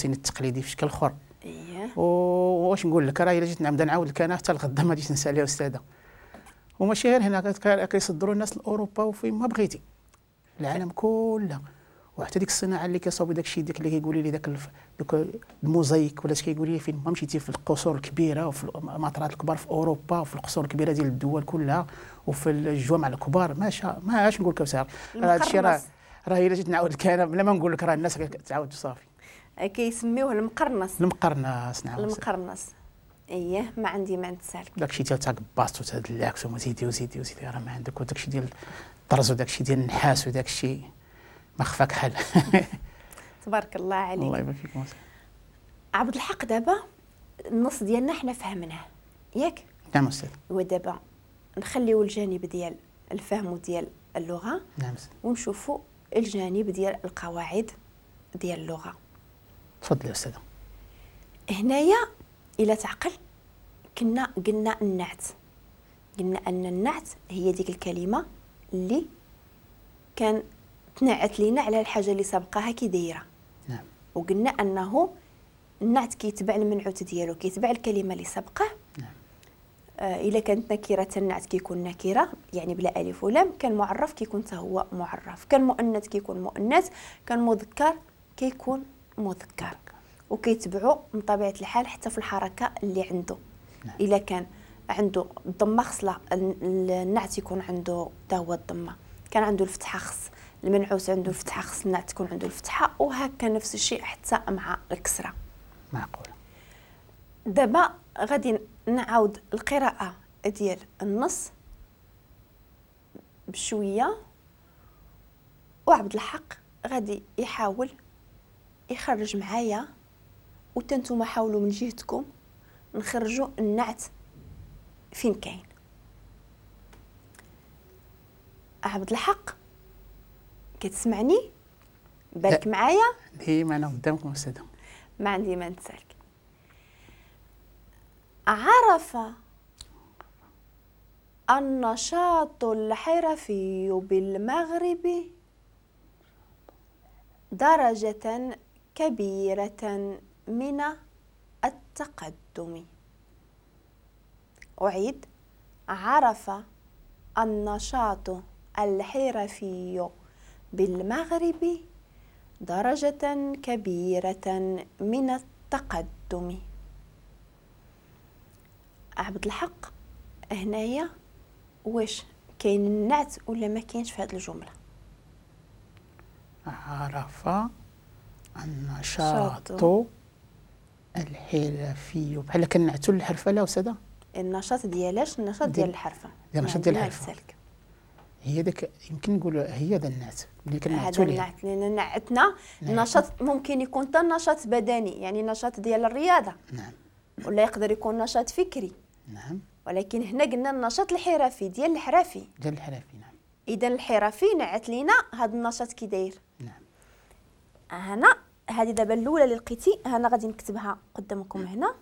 التقليدي في شكل اخر. اييه. واش نقول لك، راه الا جيت نبدا نعاود لك انا حتى الغدا ما غاديش نسالي استاذه. وماشي غير هنا، كيصدروا الناس لاوروبا وفين ما بغيتي العالم كله. وحتى ديك الصناعة اللي كيصاوبوا داك الشيء، ديك اللي كيقولوا لي داك الموزايك ولا اش كيقولوا لي، فين ما مشيتي في القصور الكبيرة وفي المطارات الكبار في اوروبا وفي القصور الكبيرة ديال الدول كلها وفي الجوامع الكبار. ما شاء ما اش نقول لك أستاذ، هذا الشيء راه الا جيت نعاود لك انا بلا ما نقول لك راه الناس كتعاود صافي. كيسميوه المقرنص. المقرنص، نعم المقرنص. اييه ما عندي ما نتسالك. داك الشيء ديال تاكباست وتهاد اللاكس وما زيدي وزيدي وزيدي راه ما عندك، وداك الشيء ديال الطرز وداك الشيء ديال النحاس وداك الشيء ما خفاك حال. تبارك الله عليك. الله يبارك فيك. عبد الحق، دابا النص ديالنا حنا فهمناه ياك؟ نعم أستاذ. ودابا نخليو الجانب ديال الفهم وديال اللغة. نعم أستاذ. ونشوفوا الجانب ديال القواعد ديال اللغة. تفضلي أستاذة. هنايا إلا تعقل كنا قلنا النعت، قلنا أن النعت هي ديك الكلمة اللي كان تنعت لينا على الحاجة اللي سبقاها كي دايرة. نعم. وقلنا أنه النعت كيتبع المنعوت ديالو، كيتبع الكلمة اللي سبقه. نعم. إلا كانت نكرة النعت كيكون نكرة يعني بلا ألف ولام، كان معرف كيكون حتى هو معرف، كان مؤنث كيكون مؤنث، كان مذكر كيكون مذكر، وكيتبعوا من طبيعة الحال حتى في الحركة اللي عنده. نعم. إلا كان عنده الضمة خص النعت يكون عنده حتى هو الضمة، كان عنده الفتحة خص المنعوت عنده الفتحة خص النعت تكون عنده الفتحة، وهكا نفس الشيء حتى مع الكسرة. معقول. دابا غادي نعاود القراءة ديال النص بشوية، وعبد الحق غادي يحاول يخرج معايا، وتنتوما حاولوا من جهتكم نخرجوا النعت فين كاين. عبد الحق كتسمعني؟ بالك معايا؟ ديما انا قدامكم استاذه. ما عندي ما نتسالك. عرف النشاط الحرفي بالمغرب درجة كبيرة من التقدم. أعيد: عرف النشاط الحرفي بالمغرب درجة كبيرة من التقدم. عبد الحق هنايا واش كاين النعت ولا ما كاينش في هذه الجملة؟ عرف النشاط الحرفي، بحال كنعتو الحرفة. لا أستاذة، النشاط ديالاش؟ النشاط ديال الحرفة. ديال النشاط ديال الحرفة هي داك، يمكن نقولوا هي ذا النعت اللي كنعتو ليه. هذا النعت لأن نعتنا النشاط ممكن يكون حتى نشاط بدني، يعني نشاط ديال الرياضة. نعم. ولا يقدر يكون نشاط فكري. نعم. ولكن هنا قلنا النشاط الحرفي ديال الحرفي. ديال الحرفي، نعم. إذا الحرفي نعت لينا هذا النشاط كي داير. نعم. هنا هذه دابا الأولى اللي لقيتي، هنا غادي نكتبها قدامكم هنا.